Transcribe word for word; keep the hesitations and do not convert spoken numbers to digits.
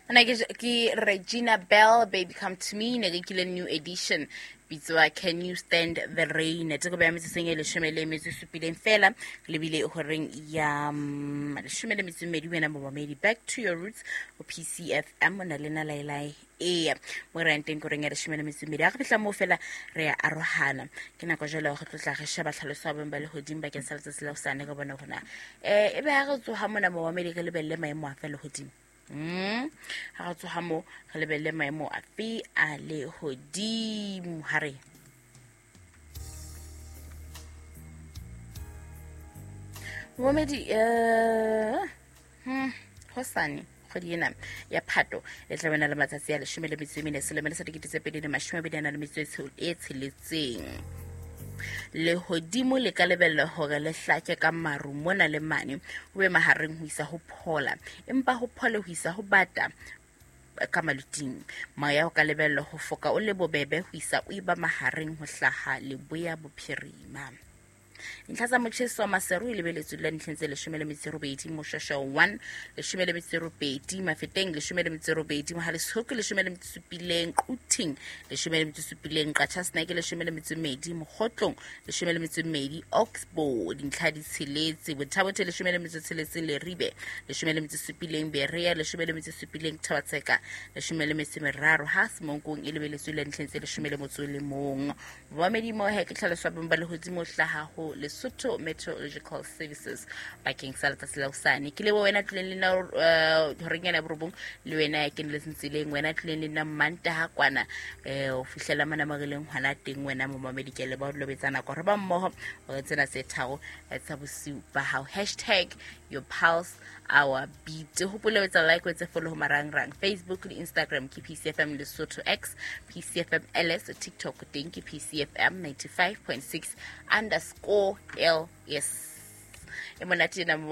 Ana ke ke Regina Bell, Baby Come to Me, ne ke kile new edition bitswa Can You Stand the Rain. Teko ba metso seng e leshome le metso e supileng fela le bile horeng ya mm, leshome le metso e mmedi wena momamedi. Back to your roots ho P C F M o na le na laelai eya mo re yang teng koreng ya leshome le metso e mmedi. Ha re fihla moo fela re ya arohana. Ke nako jwale ya ho tlotla re sheba tlhaloso ya boemo ba lehodimo bakeng sa letsatsi la hosane re bone hore na, eh, ebe ha re tsoha mona momamedi re lebelle maemo afe a lehodimo. Mm. Ha re tsoha moo re lebelle maemo afe a lehodimo ha re. Momamedi, eh, hmm, hosane kgwedi ena ya Phato e tla bana le matsatsi a leshome le metso e mene selemo sa dikete tse pedi le mashome a mabedi a nang le metso e tshe-, e tsheletseng. Lehodimo le ka lebellwa hore le hlake ka maru mona le mane, ho be mahareng ho isa ho phola, empa ho phole ho isa ho bata ka maluting. Moya o ka lebellwa ho foka o le bobebe ho isa o eba mahareng ho hlaha leboya bophirima. Dintlha tsa motjheso wa Maseru e lebeletswe le ntlheng tse leshome le metso e robedi, Moshweshwe one, leshome le metso e robedi, Mafeteng leshome le metso e robedi, Mohale'shoek leshome le metso e supileng, Quthing leshome le metso e supileng, Qacha's Nek leshome le metso e mmedi, Mokhotlong leshome le metso e mmedi, Oxbow dintlha di tsheletse, Botha-Bothe leshome le metso e tsheletseng, Leribe leshome le metso e supileng, Berea leshome le metso e supileng, Thaba-Tseka leshome le metso e meraro, ha Semonkong e lebeletswe le ntlheng tse leshome le motso o le mong. Momamedi mo he ke tlhaloso ya boemo ba lehodimo hlaha ho Lesotho Meteorological Services bakeng sa letsatsi la hosane. Ke leboha wena tlileng le nna, eh, horeng ena ya borobong, le wena ya keneletseng tseleng, wena tlileng le nna Mantaha kwana, eh, ho fihlela mona mo re leng hona teng, wena momamedi, ke a leboha ho lobetsa nako. Re ba mmoho hore tsena tse tharo, eh, tsa bosiu ba hao. Hashtag your pulse our beat. Hopola ho etsa like, o etse follow ho marangrang Facebook le Instagram ke P C F M Lesotho X, P C F M L S, TikTok teng ke P C F M ninety-five point six underscore L S. E monate ena mo